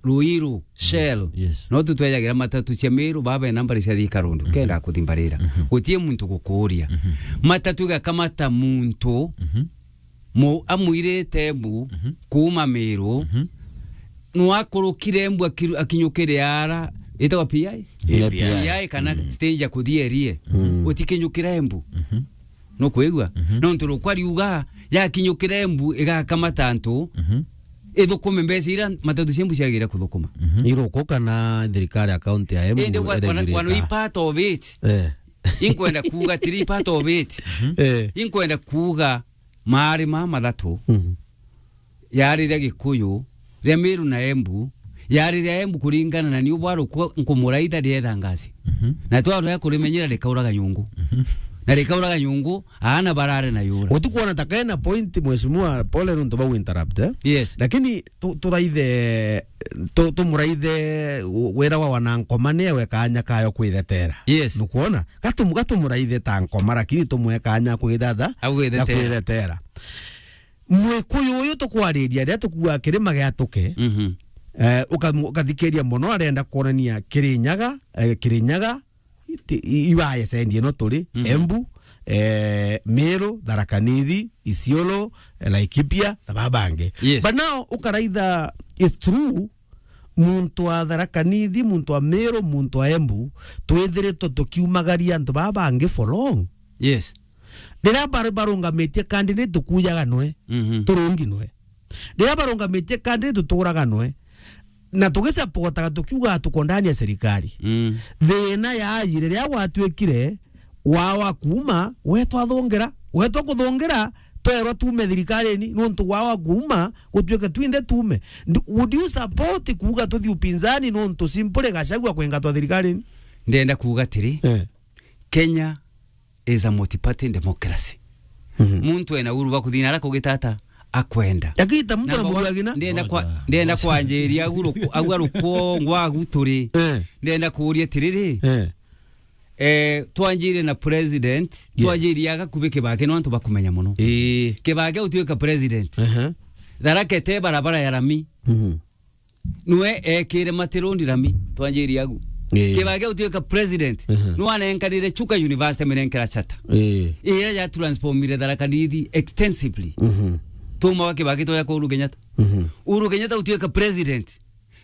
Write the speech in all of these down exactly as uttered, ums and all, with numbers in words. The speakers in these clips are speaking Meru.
Ruiru, Shell. Yes. No tutwejagira matatu cia Meru, baba e nambari cia Thika Road. Mhm. Kenda kuthimbarira. Mhm. Gutie muntu gukuria. Mhm. Matatu igakamata muntu, mhm, mu-, amwirite Embu, mhm, kuuma Meru. Mhm. Nwakurukire Embu akiru-, akinyukire ara, itagwa P I? Yeah, P I. P I kana, mhm, stage ya kuthierie. Mm. Utikinyukira Embu. Mhm. Nukwigua? Mhm. Nontu rukwa riuga, yakinyukira Embu, igakamata antu, mhm, ithukume mbeca iria matatu cia Embu ciagire kuthukuma. Mhm. Iruku kana thirikari ya county ya Embu. Indi wa-, wana, iregurika? Wana i part of it. Eh. Inkwenda kuuga tiri part of it. Mhm. Eh. Inkwenda kuuga maari ma mathatu. Mhm. Yariria Gikuyu, ria Meru na Embu, yariria Embu kuringana na niu bwa rukwa nkumuraitha rietha ngasi. Mhm. Na twarega kurimenyera rikauraga nyungu. Mhm. Na rikauraga nyungu, aana barare na yura. Utikwona ta kena point, Mheshimiwa, pole nontu bau interrupt, eh? Yes. Lakini tu-, turaithe, tu-, tumuraithe wira wa wanankoma ni ewe kanya kayo kwithetera. Yes. Nukwona? Gatumu-, gatumuraithe ta nkoma, lakini tumwe kanya kwithatha, agwithetera, kwithetera. Mwikuyu uyu tukwariria, riria tukuaga kirima gia Tuke, mhm, eh, ukamu-, ukathikiria mono, arenda kwonania Kirinyaga, eh, Kirinyaga, ti-, i-, ibaye sendi ino turi, mhm, Embu, eh, Meru, Tharaka Nithi, Isiolo, eh, Laikipia, na babangi. Yes. But now, ukaraitha, it's true, muntu wa Tharaka Nithi, muntu wa Meru, muntu wa Embu, twithiritwe tukiumagaria antu baa bangi for long. Yes. Riria bar-, barungamitie candidate, tukujaga nwe, mhm, turungi nwe. Riria barungamitie candidate, tuturaga nwe. Na tugisapotaga tukiuga tuko ndani ya serikali. Mm. Thina yaajire riria gwatuikire wawa kuuma, wetwa thungira, wetwa kuthungira, twerwa tuume thirikarine, nontu wawa kuuma, gutuike twinthe tuume. Nd-, would you support kuuga tuthi upinzani nontu simply Gachagua kwingatwa thirikarine? Ndenda kuuga atiri, eh, Kenya is a multi-party democracy. Mhm. Muntu ena uhuru bwa kuthina ara kugitata akwenda. Lakini ta muntu na na mugwa-, mugwagina? Ndenda kwa-, ndenda kwanjiria agu ruku-, agu arukwongwa agu turi. Eh. Ndenda kuuria atiriri. Eh. Eh, twanjire na president, yes, twanjirie agakubi Kibaki, no antu bakumenya mono. Ii. Kibaki utuika president. Aha. Tharaka ite barabara ya rami. Mhm. Nwe ekire Matirondi rami, twanjirie agu. Ii. Kibaki utuika president. Aha. Nwe anenkanire Chuka University, minenkera charter. Ii. Iria ya transformire Tharaka Nithi extensively. Mhm. Tuma wa Kibaki toya kwa Uhuru Kenyatta. Mhm. Uhuru Kenyatta utuika president.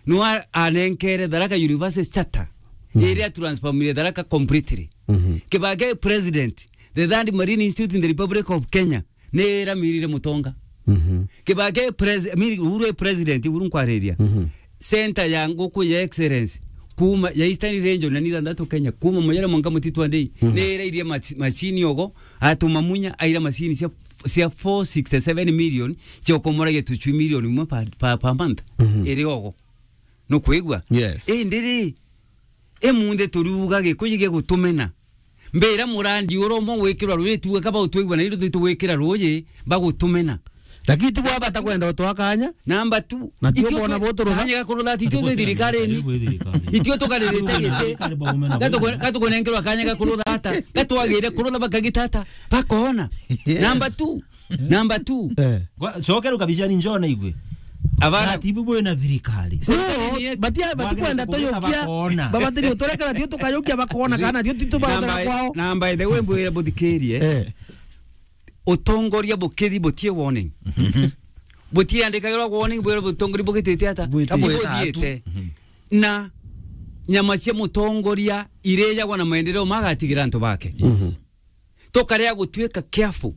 Nwe anenkere Tharaka University charter. Mhm. Iria transformire Tharaka completely. Mhm. Kibaki president, the third Marine Institute in the Republic of Kenya, ni iramirire Mutonga. Mhm. Kibaki pres-, I mean, Uhuru e president, Uhuru nkwariria. Mhm. Center ya nguku ya excellence, kuma ya Eastern Region na ni thantatu Kenya, kuma Moyale mwanka Mutitwa Ndei, mhm, ni irairie mach-, machine ogo, atuma Munya aira machine cia, cia four sixty seven million, cia ukomoragia tucui million imwe per, per, per month. Mhm. Iri ogo. Nukwigua? Yes. Indi ri, imunthi turiuga Gikuyu gigutumena. Mbira murandi ura umwe wikirwa ruuji, tuuge kaba utwigua na ithu twigwikira ruuji, bagutumena. Lakini ti bwa bata kwenda utwa kanya. Number two. Na tio ithuĩ bona twe-, botorotha. Kanya ga kurutha, ti ithuĩ twĩ thirikari-ini. Ithuĩ tukaririte giti. Gatuku-, gatukunengerwa kanya ga kurutha ata. Gatwagire kurutha bakagita ata. Bakona. Yes. Number two. Number two. Eh. Gwa-, cokera ukabicani njona igwe. Abana. Ati ibu bwina thirikari. No, batia-, batikwenda tuyukia. Babatiri uturekera tio tukayukia bakona kana tio titubarotera kwao. Na by the way, mbwire buthikirie. Eh. Utongoria bukithi butie warning. Mhm. Butiandikagirwa warning, bwire butongoria bugitite ata? Bwitite. Buthiite. Mhm. Na nyama cia mutongoria irijagwa na maendeleo magatigira antu bake. Mhm. Tukarea gutuika careful.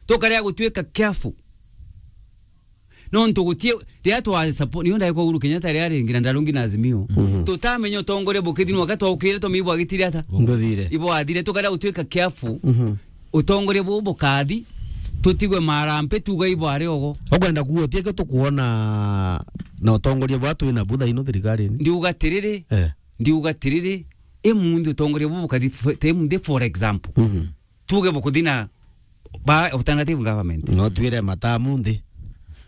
Tukarea gutuika careful. Nontu gutie, riria twa support, niyo ndaikwa Uhuru Kenyatta riria ringi na ndarungi na Azimio. Mhm. Tutamenya utongoria bukithi nwaka twaukire twamigwa agitire ata? Nguthire. Ibo athire, tukarea gutuika careful. Mhm. Utongoria bubu bukathi, tutigwe marampe, tuga ibo ari ogo. Ukwenda kuuga utie ke tukuona na utongoria bwa twina bu thaino thirikari-ini? Ndiuga tiriri. Eh. Ndiuga tiriri, imunthi utongoria bubu bukathi f-, te imunthi, for example. Mhm. Tuge bukuthi na ba alternative government. No twire matamu nthi.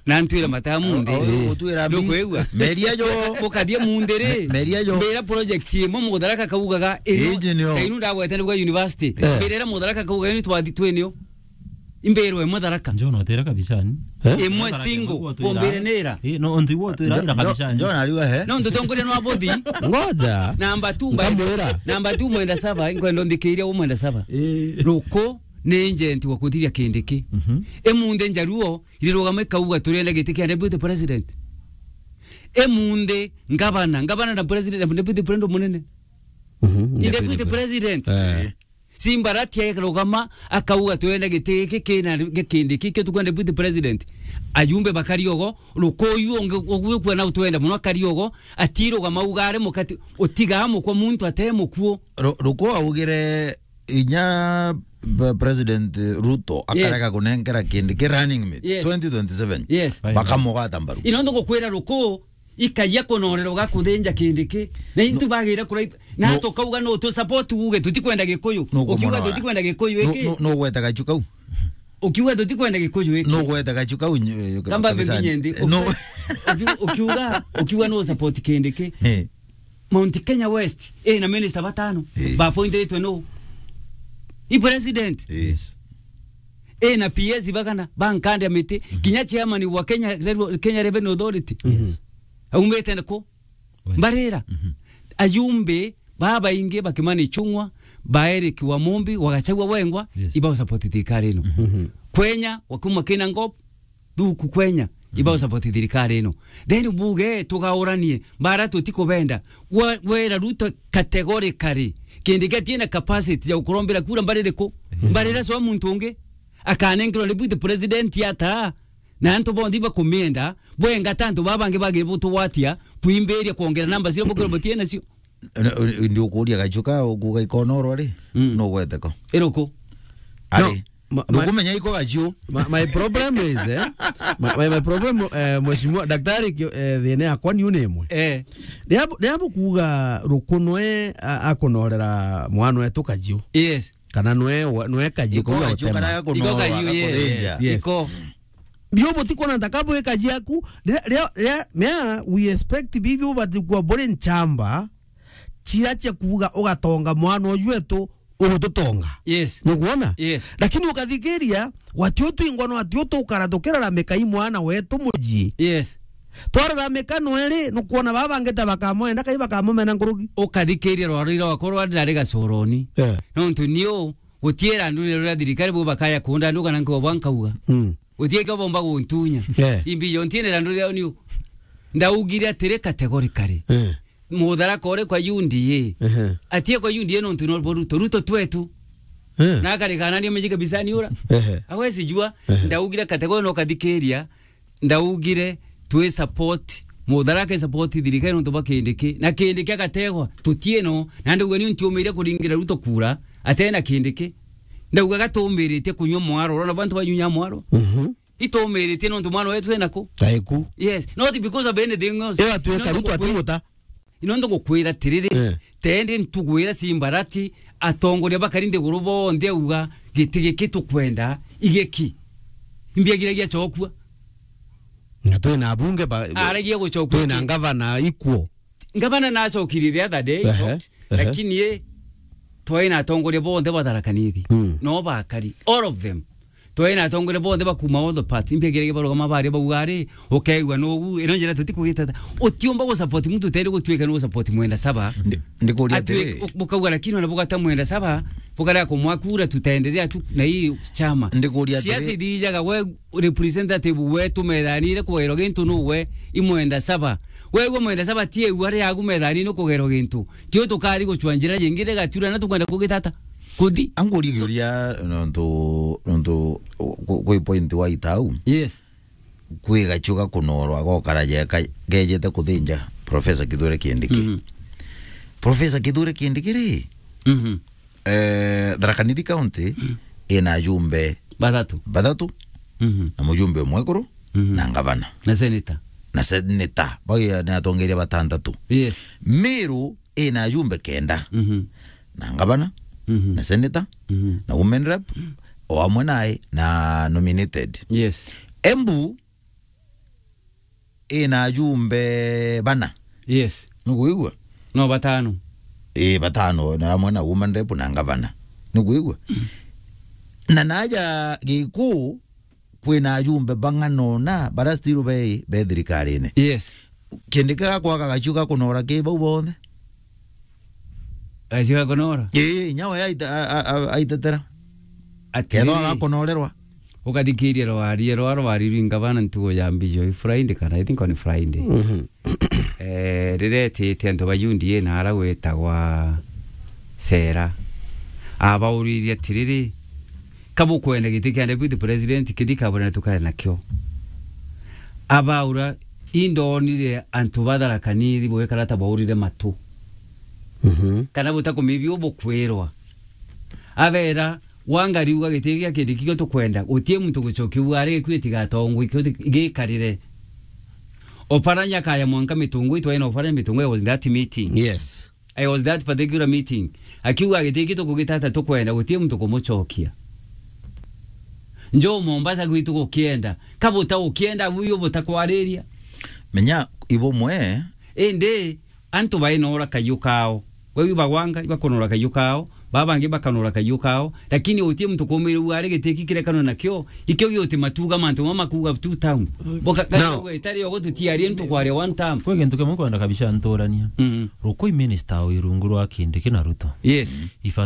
Na ntwire matamu nthi. O, o, o, utwira mi-, nukwigua? Meria jo. Bukathie munthi ri. Me-, meria jo. Mbira project imwe Mutharaka kaugaga, ino, iji nio. Inu ndagwete nibwa university. Eh. Mbira ira Mutharaka kauga, ino twathi twinio. Imbirwe imwe Tharaka. Njo notera kabicani. Eh? Imwe Tharaka single, imwe gwotwira. Kumbire nira. Eh, no, ontu igwotwira Njo-, ira Njo-, kabicani. Njo nariuga he? No, ntutongoria nwa bothi. Ngoja. Namba two, by the, nkamwira. Namba two, mwenda saba, nkwenda nthikiria u mwenda saba. Eh. Ruku ni agent wa kuthiria Kindiki. Mhm. Imunthi Njaruo, irirugama ikauga, "Turenda giti kia deputy president." Imunthi, ngavana, ngavana na president, na deputy president munene. Mhm, ni deputy deputy pre-, president. Eh. Simbarati akarugama, akauga, "Twenda giti giki kina gi-, Kindiki, kio tukwenda deputy president." Ajumbe bakari ogo, Rukuyu ungi, ugukwona utwenda muno akari ogo, atirugama auga ari mukati, utigaa mukwa muntu ate mukuu. Ru-, Ruku augire inya b-, President Ruto, yes, akarega kunenkera Kindiki running mate, yes, twenty twenty-seven. Yes. Bakamugwata mbaru. Ino ndugukwira Ruku, ikagia kunorera ugakuthinja Kindiki. Na intu no, bagire kuraita. Na no, tukauga no tu support uge tutikwenda Gikuyu. No. Ukiuga kumorora. Tutikwenda Gikuyu no, iki. No, no gweta gachu kau. Ukiuga tutikwenda Gikuyu iki. No gweta gachu kau nyo-, kamba kabisa. Mbingi nyendi. No. Uki-, ukiuga, ukiuga no support Kindiki. Eh. Mount Kenya West, eh, na minister batano. Eh. Ba appointitwe no. I president. Yes. Eh, na P S bagana, bankande miti. Mhm. Kinya chairman wa Kenya Revenue, Kenya Revenue Authority. Yes. Aumite nako. West. Mbarira. Mhm. Ajumbe babaingi ba Kimani Ichung'wa, ba Eric Wamumbi, wa Gachagua Wengwa, yes, ibao support thirikari ino. Mhm. Kwenya, wakuma kina ngop, thuku kwenya, mhm, ibao support thirikari ino. Then buge tugauranie, bara tutikubenda. Wa-, wera Ruto categorically. Kindiki atina capacity ya gukurombera kura mbaririku. Mhm. Mbarira so muntu ungi. Akanenkerwa deputy president ata. Na antu bonthe bakumienda, bwenga ta antu baba bangi bagire butugwatia, kwimbiria kwongera namba cio bukiro butie nacio. Ndi ukuria gachuka, ukuga ikonorwa ri? Mm. No gweteko. Iruku? Ari. No, ma-, ma-, ndukumenya iko gachu. My, my problem is, eh, my, my, my problem, eh, mheshimiwa daktari, ki-, eh, thina yakwa ni une imwe. Eh. Ria bu-, ria bukuga Ruku nwe a-, akunorera mwana wetu kajiu. Yes. Kana nwe wa-, nwe kajiu. Iko kuga gachu utema. Kana gakunorwa, iko gachu, yes, gakuthinja. Yes. Iko. Bio butikona ntaka bwika jiaku, ria, ria, ria, mea, we expect bibio batikua buri nchamba, chia chia kuuga ugatonga mwana uju wetu, ugututonga. Yes. Nukwona? Yes. Lakini ukathikiria, watio twingwa no atio tukara tukiraramika i mwana wetu muji. Yes. Twararamika nweri, nukwona baba ngeta bakamwenda, kai bakamumena nkuruki. Ukathikiria rwaro ira wakwa rwa ndari gacoroni. Eh. Nontu niu, gutiera ndurire ruria thirikari bo bakaya kunda ndu kana nkobwa nkauga. Mm. Utie kio bomba guntunya. Yeah. Imbi yo ntienera nduri au niu. Ndaugire atiri categorically. Eh. Mutharaka uri kwa U D A. Ehe. Atie kwa U D A nontu no bo Ruto. Ruto twetu. Eh. Na akarikana ndio mejike bisani ura. Ehe. Awezi jua. Ehe. Ndaugire category no kathikiria. Ndaugire twi support. Mutharaka support thirikari nontu ba Kindiki. Na Kindiki agategwa. Tutieno. Na ndauga ni ntiumire kuringira Ruto kura. Atena Kindiki. Ndauga gatumiritie kunywa mwaro. Urona bantu banyunya mwaro. Mhm. Itumiritie nontu mwana wetu ena ku? Kaiku. Yes, not because of anything else. Ewa tuweka Ruto atimuta. Ino ndugukwira tiriri, eh, tende ntugwira Simbarati, atongoria bakari nthiguru bonthe auga, giti giki tukwenda, igiki. Imbiagiragia chokua. Na twina abunge ba-, aragia guchokua twina iki. Ngavana ikuo. Ngavana nacokirie the other day, ehe, ehe, lakini ye, twai na atongoria bonthe ba Tharaka Nithi. Mm. No bakari, all of them. Twai na atongoria bonthe bakuma all the parts. Impiagiragia barugama baria bauga ari, ukeigua nugu, ino njira tutikugitata. Utiumba gu support muntu uteri gutuika ni gu support mwenda saba. Ndi-, ndikuria atiri. Atwi-, u-, bukauga lakini ona bugata mwenda saba, bukarega kumwa kura tutaendelea tu na hii chama. Ndikuria atiri. Siasa ithijaga we representative wetu methanire kugairwa gintu nuwe i mwenda saba. Wegua mwenda saba ti eu ari agu methanire kugairwa gintu. Tio tukathi gucua njira jingi rigatura na tukwenda kugitata. Kuthi. Angurie so kiuria nontu, nontu ku-, kwi point wa itau. Yes. Kwi gachuga kunorwa gokara jeka gejete kuthinja Professor Kithure Kindiki. Mhm. Professor Kithure Kindiki ri? Mhm. Eh, Tharaka Nithi County, mm, ina ajumbe bathatu. Bathatu, mhm, na mujumbe umwe ekuru, mhm, na ngavana. Na senator. Na senator. Bau ni atongeria batantatu. Yes. Meru ina ajumbe kenda. Mhm. Na ngavana, mhm, na senator, mhm, na women rep, o amwe nae na nominated. Yes. Embu ina ajumbe bana. Yes. Nukwigua? No, batano. Ii, batano, na amwe na woman rep na ngavana. Nukwigua? Mm. Na naja Gikuu, kwina ajumbe bang'ana ona, bara still be, be thirikarine. Yes. Kindiki gakwaga gaciu gakunora ki bau bonthe? Gaciu gakunora? Ii, inya we aita-, a-, a-, a-, aitetera. Atiri. Kethwa agakunorerwa. Ukathikiria rwari, rwa rwari rwinga bana ntugo ya mbijo i Friday kana I think on Friday. Mhm. Eh, riria etite antu ba U D A na ara gwitagwa Sera. Abauririe atiriri, "Ka bukwenda giti kia deputy president kithi kabone na tukare nakio?" Abaura, "Indonire antu ba Tharaka Nithi bwikara ta baurire matu." Mhm. Kana butakumibi ubukwirwa. Abera, "Wangari uga giti gia Kindiki kio tukwenda, gutie muntu gucokia uare gikui tigatongwe kio ti-, gikarire." Oparanya kaya mwanka Mitungwi, twaina Oparanya Mitungwi, I was in that meeting. Yes. I was that particular meeting. Akiuga giti ki tukugitata tukwenda, gutie muntu kumucokia. Njo Mombasa gwitu gukienda. Ka buta ukienda, buyo butakwariria. Menya, ibumwe. Indi, antu bainora kayu kao. Bau bagwanga, ibakunora kayu kao. Babangi bakanora kayu kao. Lakini utie muntu kumire uare giti ki kirekanwe nakio. Ikio giuti matuga mantu ma makuga tu town. Boka, Now, itari ogo tutiarie ntu kwaria one term. Kwi gintu kimwe nkwenda kabisa nturania. Mm. Rukui minister uyu rungu rwa Kindiki na Ruto. Yes. Iba